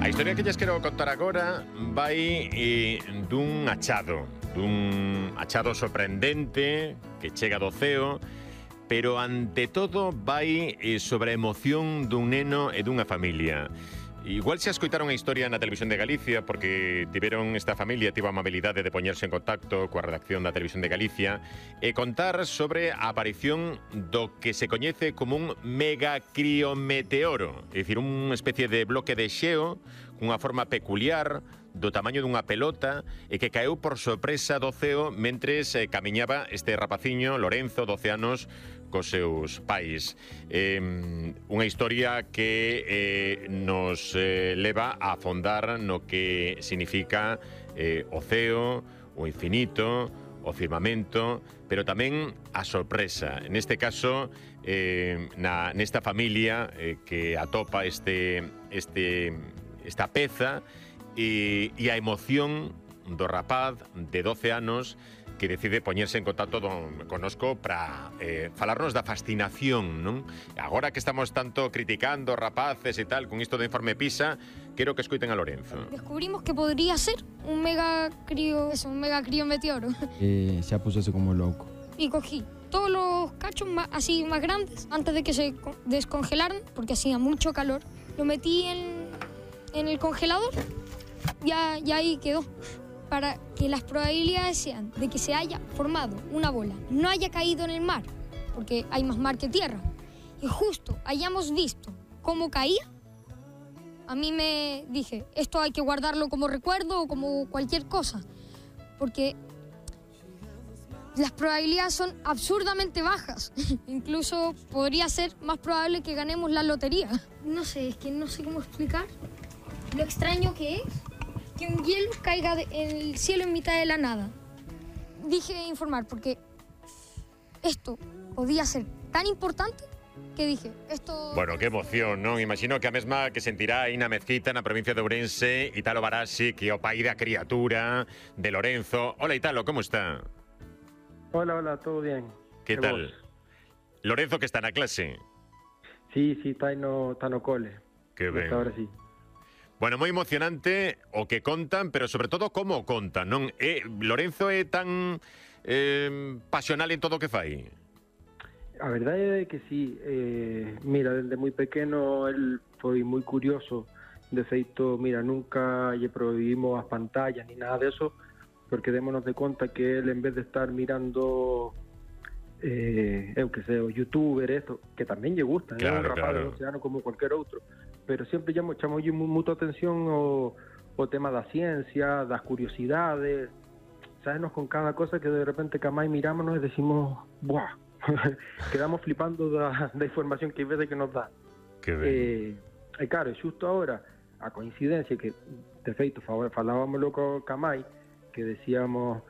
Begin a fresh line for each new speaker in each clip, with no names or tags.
A historia que lles quero contar agora vai dun achado sorprendente que chega do ceo, pero ante todo vai sobre a emoción dun neno e dunha familia. Igual se escoitaron a historia na Televisión de Galicia porque tiveron esta familia, tivo a amabilidade de poñerse en contacto coa redacción da Televisión de Galicia e contar sobre a aparición do que se coñece como un megacriometeoro, é dicir, unha especie de bloque de xeo cunha forma peculiar do tamaño dunha pelota e que caeu por sorpresa do ceo mentres camiñaba este rapaciño, Lorenzo, 12 anos, cos seus pais. Unha historia que nos leva a afondar no que significa o ceo, o infinito, o firmamento, pero tamén a sorpresa. Neste caso, nesta familia que atopa esta peza e a emoción do rapaz de 12 anos que decide poñerse en contacto connosco para falarnos da fascinación, non? Agora que estamos tanto criticando rapaces e tal con isto do informe PISA, quero que escoiten a Lorenzo.
Descubrimos que podría ser un megacriometeoro.
Ya pusose como loco.
Y cogí todos los cachos así más grandes antes de que se descongelaran, porque hacía mucho calor. Lo metí en el congelador y ahí quedó. Para que las probabilidades sean de que se haya formado una bola, no haya caído en el mar, porque hay más mar que tierra, y justo hayamos visto cómo caía, a mí me dije, esto hay que guardarlo como recuerdo o como cualquier cosa, porque las probabilidades son absurdamente bajas. Incluso podría ser más probable que ganemos la lotería. No sé, es que no sé cómo explicar lo extraño que es que un hielo caiga en el cielo en mitad de la nada. Dije informar porque esto podía ser tan importante que dije, esto...
Bueno, que emoción, non? Imagino que a mesma que sentirá aí na Mezquita, na provincia de Ourense, Italo Barassi, que é o pai da criatura de Lorenzo. Hola, Italo, como está?
Hola, todo bien.
Que tal? Vos? Lorenzo, que está na clase?
Sí, está no cole.
Que ben.
Ahora sí.
Bueno, moi emocionante o que contan, pero sobre todo como contan, non? Lorenzo é tan pasional en todo o que fai?
A verdade é que sí. Mira, desde moi pequeno el foi moi curioso. De feito, mira, nunca lle prohibimos as pantallas ni nada de eso, porque démonos de conta que el, en vez de estar mirando eu que sei, o youtuber, esto, que tamén lle gusta,
claro,
un rapaz
claro.
de 12 anos como cualquier outro, pero sempre chamamos moita atención o tema da ciencia, das curiosidades, sabesnos con cada cosa que de repente que a máis mirámonos e decimos, buah, quedamos flipando da información que veces que nos dá.
Que ben.
E claro, xusto agora, a coincidencia que, de feito, falábamoslo ca máis, que decíamos,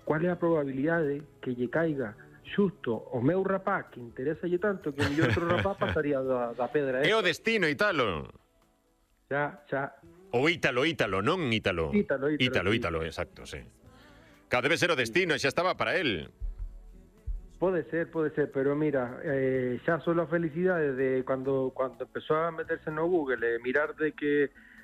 cual é a probabilidade que lle caiga xusto o meu rapaz que interesa-lle tanto que o mellor outro rapaz pasaría da pedra.
É o destino, Italo.
Xa.
O Ítalo, non Ítalo. Ítalo, exacto, sí. Claro, debe ser o destino, xa estaba para él.
Pode ser, pero mira, xa só a felicidade de cando empezou a meterse no Google e mirar de que